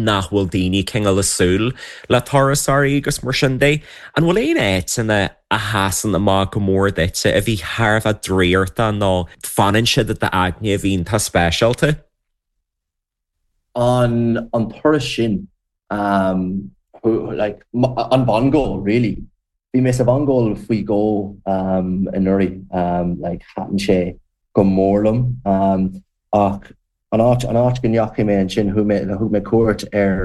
nach bhfuil daoine cineál ag súil le turasóirí agus mar sin de. An bhfuil aon áiteanna a sheasann amach go mór duitse a bhí thar a bheith draíochta nó fanann siad i d'aigne a bhí iontach speisialta? An an turas sin um, like, an Mhongóil really. Bhí mé sa Mhongóil faoi dhó um, anuraidh um, like, thaitin sé go mór liom um, ach an áit an áit go ndeachaigh mé ansin thug mé thug mé cuairt ar.